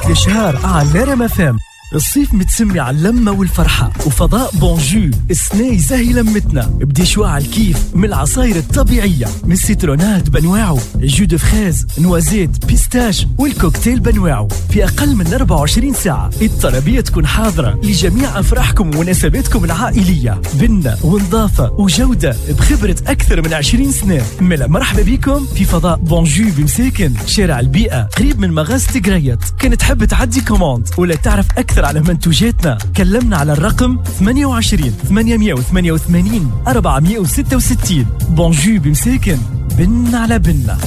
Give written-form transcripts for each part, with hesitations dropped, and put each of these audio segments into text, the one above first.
الإشهار على رام FM. الصيف متسمي على اللمة والفرحة، وفضاء Bonjus السنة يزهي لمتنا ب des choix على الكيف من العصاير الطبيعية، من ال citronnade بنواعو، jus de fraise، noisette، pistache والكوكتيل بنواعو. في أقل من 24 ساعة الطلبية تكون حاضرة لجميع أفراحكم ومناسباتكم العائلية. بنة ونظافة وجودة بخبرة أكثر من 20 سنة. ملا مرحبا بكم في فضاء Bonjus بمساكن، شارع البيئة، قريب من مغازة قريت. كان تحب تعدي commande ولا تعرف أكثر على منتوجاتنا كلمنا على الرقم 28 888 466. Bonjus بمساكن، بن على بنة.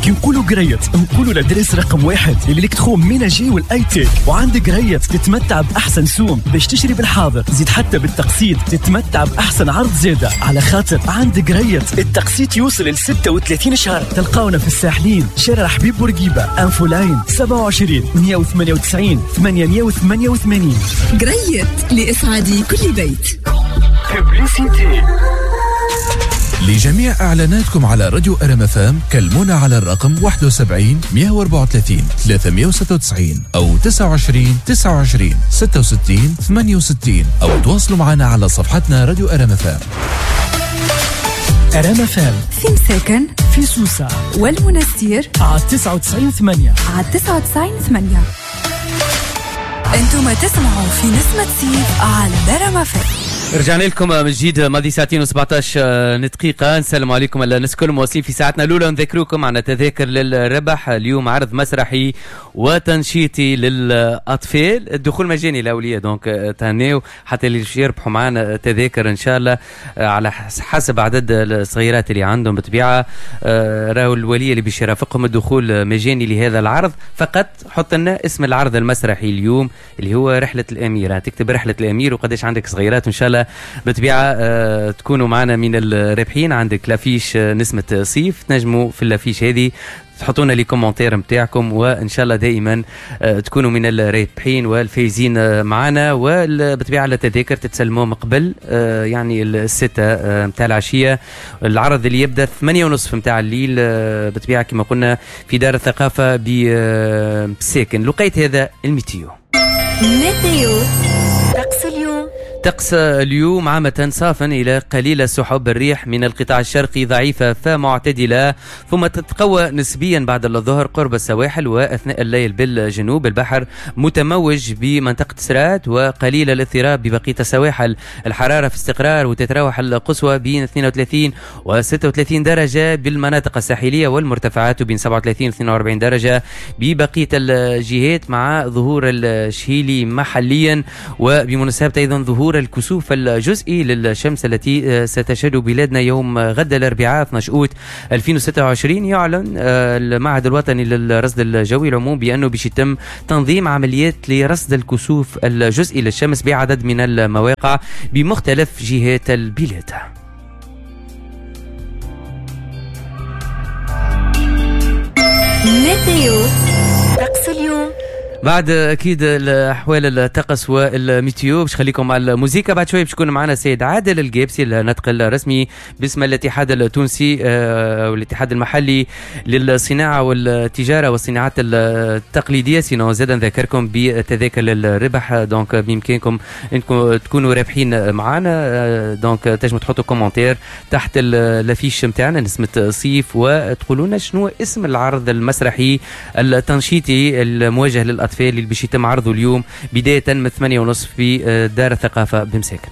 كي نقولوا قريت نقولوا l'adresse رقم 1 ال électroménager وال high-tech. وعند قريت تتمتع باحسن سوم باش تشري بالحاضر، زيد حتى بالتقسيط تتمتع باحسن عرض زاده، على خاطر عند قريت التقسيط يوصل ل 36 شهر. تلقاونا في الساحلين، شارع حبيب بورقيبة، infoline 27 198 888. قريت لاسعاد كل بيت. لجميع إعلاناتكم على راديو RMFM كلمونا على الرقم 71 134 396 أو 29 29 66 68، أو تواصلوا معنا على صفحتنا راديو RMFM. RMFM في مساكن، في سوسة والمنستير على 99.8، على 99.8. انتم تسمعوا في نسمة صيف على RMFM. رجعنا لكم من جديد، ماضي ساعتين و17 دقيقة. نسلم عليكم الناس الكل مواصلين في ساعتنا الأولى، نذكركم عن تذاكر للربح اليوم، عرض مسرحي وتنشيطي للأطفال، الدخول مجاني للأولياء، donc تهنيو حتى اللي يربحوا معنا تذاكر إن شاء الله على حسب عدد الصغيرات اللي عندهم بالطبيعة. راهو الولي اللي باش يرافقهم الدخول مجاني لهذا العرض. فقط حط لنا اسم العرض المسرحي اليوم اللي هو رحلة الأمير، تكتب رحلة الأمير وقداش عندك صغيرات، وإن شاء الله بالطبيعة تكونوا معنا من الرابحين. عندك l'affiche نسمة صيف، تنجموا في l'affiche هذه تحطونا les commentaires نتاعكم، وان شاء الله دائما تكونوا من الرابحين والفايزين معنا. وبالطبيعه التذاكر تتسلموا من قبل يعني 6 نتاع العشية، العرض اللي يبدا 8:30 نتاع الليل بالطبيعة كما قلنا في دار الثقافة بساكن. لقيت هذا ال météo. météo طقس اليوم. طقس اليوم عامة صافا إلى قليل السحب، الريح من القطاع الشرقي ضعيفة فمعتدلة، ثم تتقوى نسبيا بعد الظهر قرب السواحل وأثناء الليل بالجنوب. البحر متموج بمنطقة سرات وقليل الاضطراب ببقية السواحل. الحرارة في استقرار وتتراوح القصوى بين 32 و 36 درجة بالمناطق الساحلية والمرتفعات، وبين 37 و 42 درجة ببقية الجهات، مع ظهور الشهيلي محليا، وبمناسبة أيضا ظهور الكسوف الجزئي للشمس التي ستشهد بلادنا يوم غد الأربعاء 12 أوت 2026. يعلن المعهد الوطني للرصد الجوي العموم بأنه باش يتم تنظيم عمليات لرصد الكسوف الجزئي للشمس بعدد من المواقع بمختلف جهات البلاد. météo طقس اليوم. بعد اكيد الاحوال الطقس وال météo باش خليكم على الموسيقى. بعد شوي باش يكون معنا السيد عادل القابسي الناطق الرسمي باسم الاتحاد التونسي والاتحاد المحلي للصناعة والتجارة والصناعات التقليدية. sinon زاد نذكركم بتذاكر الربح، donc بامكانكم انكم تكونوا رابحين معنا. donc تنجموا تحطوا commentaire تحت l'affiche نتاعنا نسمه صيف وتقولوا لنا شنو اسم العرض المسرحي التنشيطي الموجه للاطفال اللي باش يتم عرضه اليوم بداية من 8:30 في دار الثقافة بمساكن.